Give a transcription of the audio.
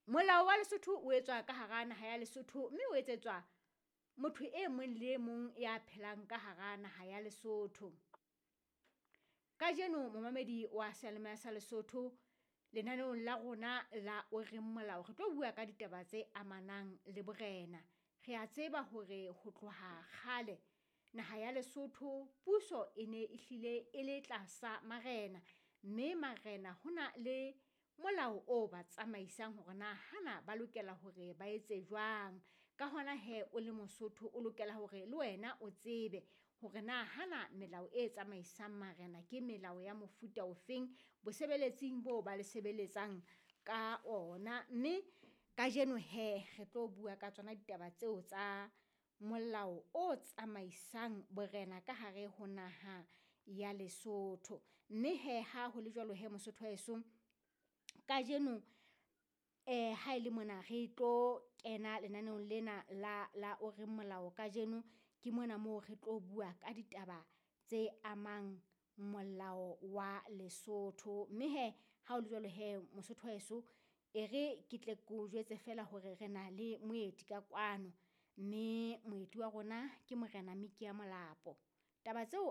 Molao wa Lesotho o etswa ka hara naha ya Lesotho mme o etsetswa motho e mong le e mong ya phelang ka hara naha ya Lesotho. Kajeno momamedi wa seyalemoya sa Lesotho lenaneong la rona la o reng molao, re tlo bua ka ditaba tse amanang le borena. Rea tseba hore ho tloha kgale naha ya Lesotho puso e ne e hlile e le tlasa marena, mme marena hona le molao o ba tsamaisang hore na hana ba lokela hore ba etse jwang. Ka hona hee o le Mosotho, o lokela hore le wena o tsebe hore na hana melao e tsamaisang marena ke melao ya mofuta ofeng bosebeletsing boo ba le sebeletsang ka ona. Mme kajeno hee re tlo bua ka tsona ditaba tseo tsa molao o tsamaisang borena ka hare ho naha ya Lesotho. Mme hee ha ho le jwalo hee Mosotho wa heso, kajeno haele mona re tlo kena lenaneong lena la la o reng molao kajeno, ke mona moo re tlo bua ka ditaba tse amang molao wa Lesotho. Mme hee ha o le jwalo hee Mosotho wa heso, e re ke tle ke o jwetse feela hore re na le moeti ka kwano. Mme moeti wa rona ke Morena Mickey Molapo. Taba tseo